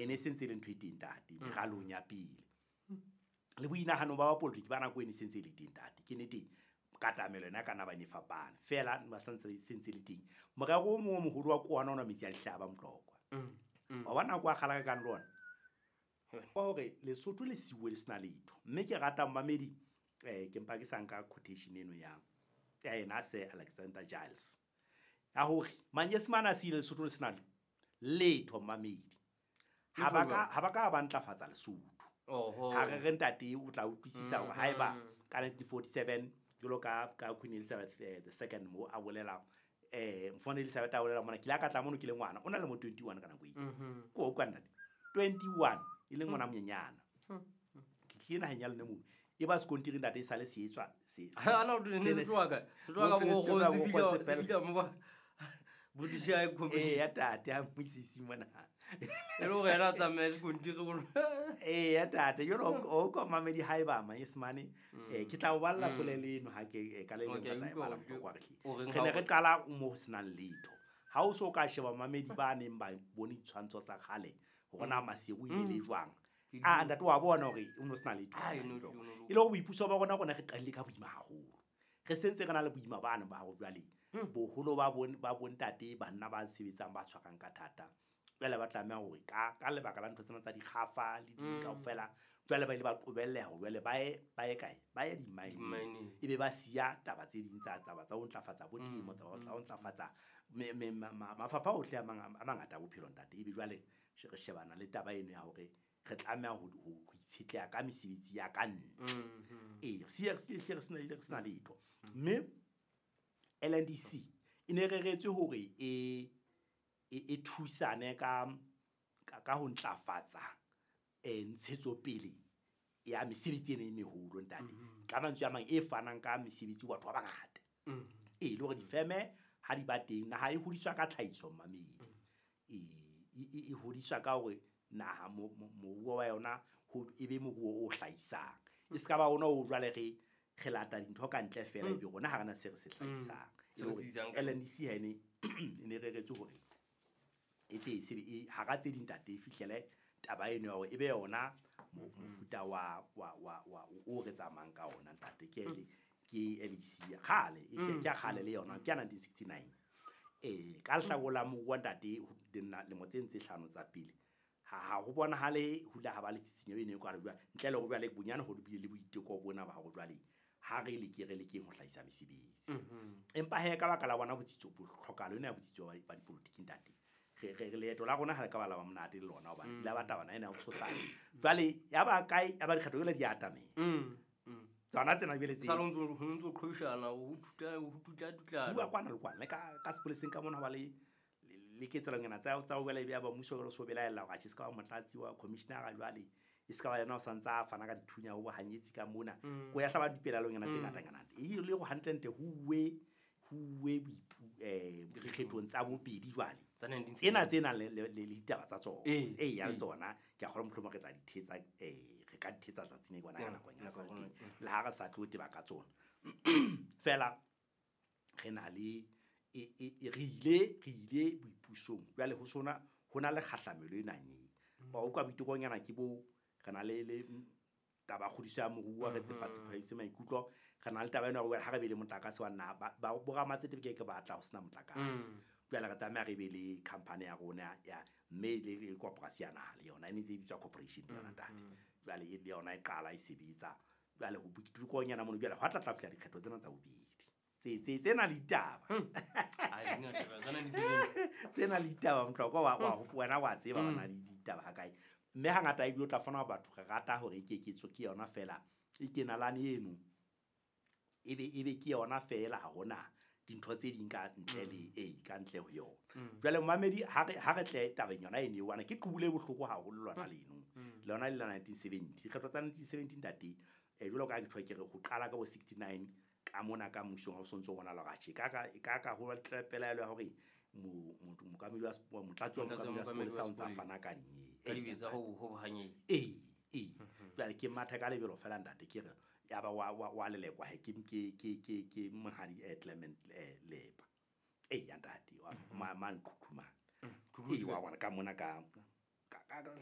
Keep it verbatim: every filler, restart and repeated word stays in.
Ene se ntse le ntho e teng ntate meralong ya pele. Le boinahano ba bapolotiki ba nako ene se ntse le teng ntate. Ke nete katamelo yona ka nna ba ne fapana. Feela ba santse se ntse le teng. Morero o mong o moholo wa ke ona ona metsi a dihlaba Motlokwa. Wa bona nako a kgala ka kang le ona. Wa hore Lesotho le siuwe le sena letho. Mme ke rata mmamedi eh ke mpa ke sa nka quotation eno ya ya yena Sir Alexander Giles. Ya hore Manyesemane a siile Lesotho le sena letho mmamedi. Ha ba ka ha ba ka ba ntlafatsa Lesotho. Oho. Ha re re ntate o tla utlwisisa hore haeba ka nineteen forty-seven jwalo ka ka Queen Elizabeth the second mo a bolela eh Mfana Elizabeth a bolela mona ke ile ka tla mono ke le ngwana o na le mo twenty-one ka nako eo. Ko o kwa ntate twenty-one e le ngwana monyenyana. Ke tlile naheng ya lona mono e ba sekontiri ntate e sale se etswa se Ha na o ne se tloha kae? Se tloha ka se bo tloha se bo fihla se se fela. fihla mo ba British High Commission. Eh ya tate a mmisisi mona. E le hore yena a tsamaye sekontiri bo. Eh ya tate jwalo o ko mamedi haeba Manyesemane eh ke tla o balla polelo eno ha ke ka le leng Okay, ka tla e utlwa bala hore Motlokwa re hle. o reng Re ha ne o re qala mo ho senang letho. Ha o so ka sheba mamedi ba neng ba bone ditshwantsho tsa kgale hore na Maseru e le jwang. Ah ntate wa bona hore o no sena letho. Ah, e no le- o no le- E le hore boipuso ba rona rona re qadile ka boima haholo. Re sentse re na le boima bana ba hore jwale boholo ba bon ba bontate banna ba sebetsang ba tshwarang ka thata. Jwale ba tlameha hore ka ka lebaka la ntho tsena tsa dikgafa le di kaofela jwale ba ile ba qobelleha hore jwale ba ye ba ye kae ba ye di-mine-eng. Di-mine-eng. Ebe ba siya taba tse ding tsa taba tsa ho ntlafatsa bo temo, taba tsa ho ntlafatsa me, me, ma, ma, mafapha ohle a mang a mangata a bophelo ntate. Ebe jwale re shebana le taba eno ya hore re tlameha ho, ho, ho itshetleha ka mesebetsi ya ka ntle. Ee, re siya, re siya, re sena, re sena letho. Mme L N D C e ne reretswe hore e, e, e thusane ka, ka, ka ho ntlafatsa, eh, ntshetsopele ya mesebetsi ena e meholo ntate. Ka mantswe a mang e fanang ka mesebetsi ho batho ba bangata. Ee, le hore difeme ha di ba teng, naha e hodiswa ka tlhahiso mmamedi. Ee, e, e, e hodiswa ka hore naha mo-, mo-, moruo wa yona ho e be moruo o hlahisang. E se ka ba ona o jwale re, re lata dintho ka ntle feela ebe rona ha rena se re se hlahisang. Se re se isang ka L N D C ha ene, e ne reretswe hore e tle e sebe, e, hara tse ding ntate e fihlele taba eno ya hore e be yona mo-, mofuta wa, wa, wa, wa, o re tsamayang ka ona ntate. Ke L-, ke L E C ya kgale, e ke, ke ya kgale le yona, ke ya nineteen sixty-nine. Eh, ka lehlakore la moruo ntate, ho nna lemo tse ntse hlano tsa pele, ha, ha ho bonahale ho ile ha ba le tsitsinyo eno e kwalo jwale, ntle le hore jwale bonyane ho bile le boiteko bona ba hore jwale ha re leke, re lekeng ho hlahisa mesebetsi. Empa he ka baka la bona botsitso, bo tlhokahalo ena ya botsitso ba, ba dipolotiki ntate, re, re, re leeto la rona ha le ka ba la ba monate le lona hobane la ba taba ena ya ho tshosana. Jwale ya ba kae, ya ba dikgetho jwale di atamela. Mm, mm. Tsona tsena jwale tse Sa le ho ntso, ho ntso qhwebeshana, ho thuta, ho tutla, tutlana. Bua kwana le kwana, le ka, ka sepoleseng ka mona ho ba le, le, le ketsahalonyana tsa, tsa ho jwale ya ba mmuso jwale o so belaella hore atjhe, se ka ba motlatsi wa commissioner jwale, e se ka ba yena o sa ntsa a fana ka dithunya ho bohanyetsi ka mona. Mm. Ko ya hlaba dipelaelonyana tse Mm. ngatanyana. E le hore hantlentle ho uwe, ho uwe boipu-, eh, dikgethong tsa bobedi jwale. Tsa nineteen Tsena sixty. tse nang le, le, le ditaba tsa tsona. Eh, Eh, ya eh. tsona, ke a kgolwa mohlomong re tla di thetsa, eh, re ka di thetsa tsatsing le bona ka Mm, nako ya nako sa ya teng. rona, mm. Le ha re sa tlo teba ka tsona. Feela re na le, e, e, e, re ile, re ile boipusong. Jwale ho sona, ho na le kgahlamelo e nang e. Mm. Wa utlwa boitekonyana ke bo, re na le, le taba ya kgodiso ya moruo, re tsepa Mm-hmm. tsepamiso maikutlo. Re na le taba ena ya hore ha re be le motlakase wa naha, ba, ba, bo ramatsete ke ke batla ho sena motlakase. Mm. Jwale re tlameha re be le company ya rona ya, mme le, le koporasi ya naha le yona, e ne e bitswa corporation le yona Mm, ntate. mm. Jwale e le yona e qala e sebetsa. Jwale ho boitekonyana mono, jwale hwa tla tla fihla dikgetho tsena tsa bobedi. Tse, tse, tsena le ditaba. Hmm. Ai, di ngata, tsena di sebetsa. Tsena le ditaba, Motlokwa, wa, wa, Hmm. wena wa tseba Hmm. bana le ditaba ha kae. Mme hangata ebile o tla fumana batho re rata hore e keketso ke yona feela, e kenalane eno. Ebe, ebe ke yona feela, ha hona dintho tse ding ka ntle le, Hmm. eh, ka ntle ho yona. Hmm. Jwale momamedi, ha re, ha re tle tabeng yona eno eo, hobane ke qubule bohloko haholo lona Hmm. leno. Hmm. Lona le la nineteen seventy. Dikgetho tsa nineteen seventy ntate, eh, jwalo ka ha ke tjho ke re ho qala ka bo sixty-nine ka mona ka mmusong ha o sontso o bona la hore atjhe, ka ka, ka ka ho tle pelaelo ya hore mo-, mo-, mookamedi wa sep-, motlatsi wa Motlatsi wa mookamedi wa mookamedi wa sepolesa o ntsa sepolesa. fana ka dinyewe. Ka dibetsa ho, ho bohanyetsi. Ee, ee. Mhm. Jwale ke matha ka lebelo feela ntate, ke re ya ba wa, wa, wa lelekwa he, ke, ke, ke, ke, ke monghadi, eh, Clement, eh, Lepa. Ee, ya ntate, wa, Mhm. ma, ma nqhuqhumane. Mm. Ee, wa bona ka mona ka, ka, ka, ka,